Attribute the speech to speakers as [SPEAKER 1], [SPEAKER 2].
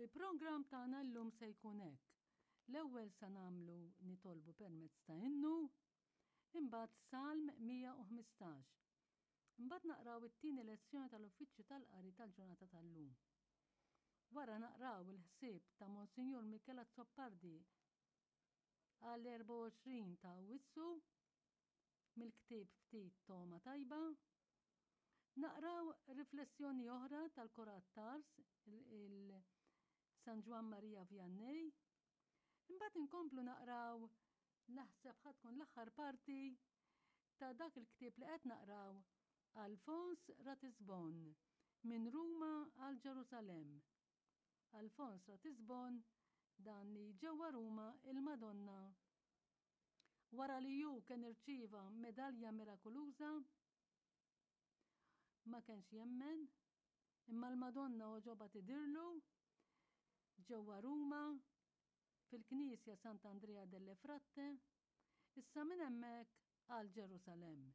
[SPEAKER 1] Il-programm tagħna llum se jkun hekk. L-ewwel sa nagħmlu nitolbu permezz ta' innu, imbagħad Salm 115. Imbagħad naqraw it-tieni lezzjoni tal-Uffiċċju tal-Qari tal-ġurnata tal-lum. Wara naqraw il-ħsieb ta' Monsinjur Michel Azzopardi għal-24 ta' Awwissu mill-ktieb Ftit Togħma Tajba. Naqraw riflessjoni oħra tal-Korat Tars, il San Ġwann Maria Vianney. Imbagħad inkomplu naqraw naħseb ħa tkun l-aħħar parti ta' dak il-ktieb li qed naqraw Alfons Ratisbon minn Ruma għal Ġerusalemm. Alfons Ratisbon dan li ġewwa Ruma il-Madonna Wara li hu kien irċieva medalja mirakuluża, ma kenx jemmen, imma l-Madonna għoġobha tidhirlu ġewwa Ruma fil-knisja Sant'Andrea delle Fratte, issa minn hemmhekk għal Ġerusalemm.